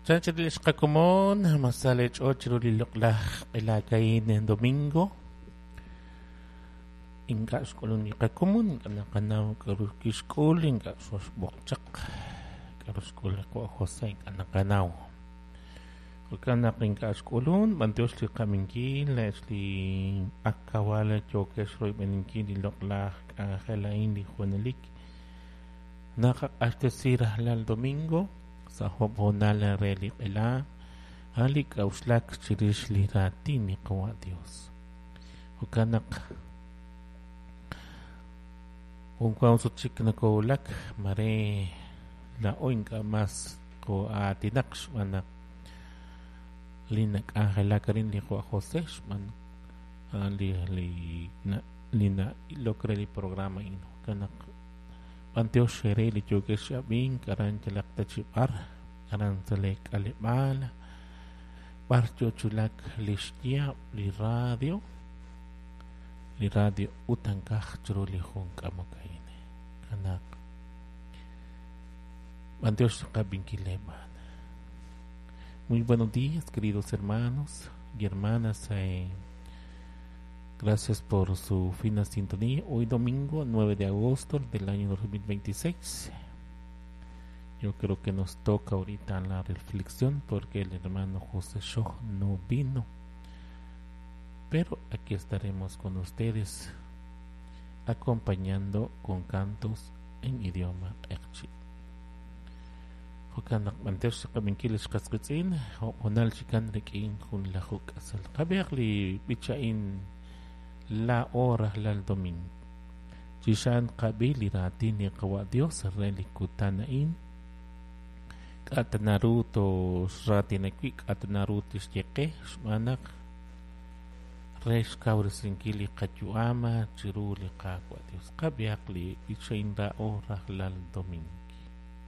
Chanchil xqakomon masale ch'och ru li loq'laj q'elakayin domingo. Ink'a' xk'ulun li qakomon, ink'a' naqanaw k'aru kixk'ul, ink'a' xoxb'oqchaq k'aru xk'ul li qawa' José, ink'a' naqanaw. Jo'kan naq ink'a' xk'ulun, b'antiox li qaminkil, li akawal yookex royb'eninkil li loq'laj k'anjel a'in li junelik. Naqaq'axtesi rajlal domingo sa' job' hoonal re li q'ela, a'an li k'a'uxlak chirix li raatin li qawa' Dios. Jo'kan naq junwan sut chik nakowulak mare laa'o ink'a' mas koo'aatinaq xb'aan naq li nak'anjelak arin li qawa' José xb'aan a'an li na'ilok re li programa a'in. Jo'kan naq b'antiox re li yookex ab'ink aran yalaq ta chi b'ar, aran sa' li k'aleb'aal, b'ar yo chulak li xyaab' li radio utankaj chiru li jun k'amok a'in. Kanak b'antiox qab'inkil leeb'aan. Muy buenos días, queridos hermanos y hermanas. Gracias por su fina sintonía. Hoy domingo 9 de agosto del año 2026. Yo creo que nos toca ahorita la reflexión porque el hermano José Schoch no vino. Pero aquí estaremos con ustedes acompañando con cantos en idioma q'eqchi. Jo'kan naq b'antiox qab'inkil xqasqitz'in honal chikan rik'in jun lajuk k'asal. Qab'iaq li b'icha'in la hora lal domingo. Chixan qab'i li raatin li qawa' Dios re li kutan a'in. K'at naru to xraatinakwi' k'at naru tixye qe xb'aan naq re xkawresinkil li qayu'am chiru li Qaawa' Dios. Qab'iaq li b'icha'in ra'o rajlal domingo.